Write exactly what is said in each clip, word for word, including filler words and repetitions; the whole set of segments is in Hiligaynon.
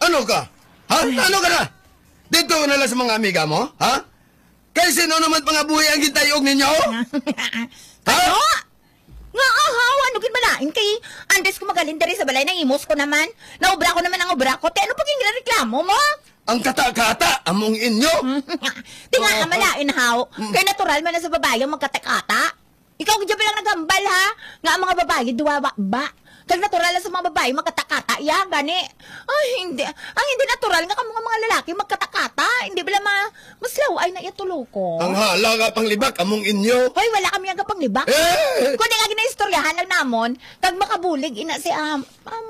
Ano ka? Ha? Ano ka na? Dito na lang sa mga amiga mo? Ha? Kay sino naman pangabuhi ang gintayog ninyo? Ha? Ano? Nga aha, ano gid malain kay antes ko magaling diri sa balay, nahimos ko naman. Naubra ko naman ang ubra ko. Te, ano pa gid reklamo mo? Ang kata-kata, among inyo. Tinga Oo. Malain, haw. Mm. Kay natural man na sa babae ang magkata-kata. Ikaw gid lang naghambal, ha? Nga ang mga babae, duwa ba, ba? Kag natural lang sa mga babae, magkata-kata. Iya, gani. Ay, hindi. Ang hindi natural nga kamo nga mga lalaki, magkata-kata. Hindi bala ma-, mas laway na iya tulo ko. Ang hala nga panglibak, among inyo. Hoy, wala kami nga panglibak. Eh! Kundi nga ginaistoryahan lang namon, kag makabulig ina si, um, um,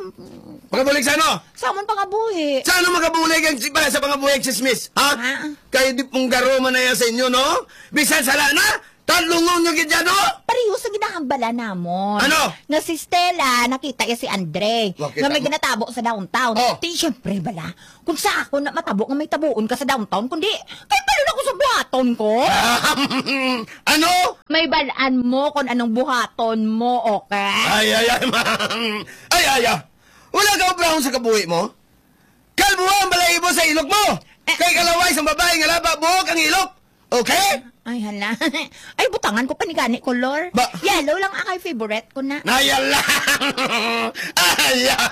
Makabulig sa ano? Sa amon pangabuhi. Sa ano makabulig ang si-, sa pangabuhi ang chismis? Ha? Ah. Kay di pong garo man na yan sa inyo, no? Bisan sala na, talungon nyo gid yan, no? Pareho sa ginahambala namon. Ano? Nga si Stella, nakita iya si Andre. Wa, kita Nga may mo. ginatabo sa downtown. Oh. Di, syempre, bala. Kung sa ako na matabo nga may tabuon ka sa downtown, kundi, kay palo na ko sa buhaton ko. Ano? May balaan mo kung anong buhaton mo, okay? Ay, ay, ay, ma'am. Ay, ay, ay. Wala ka obrahon sa kabuhi mo? Kalbuha ang balahibo sa ilok mo. Eh. Kay kalaway sa babae nga laba, buhok ang ilok. Okay? Ay, hala. Ay, butangan ko pa ni gani color. Ba- Yellow lang akay favorite ko na. Naya lang. Ay, ah.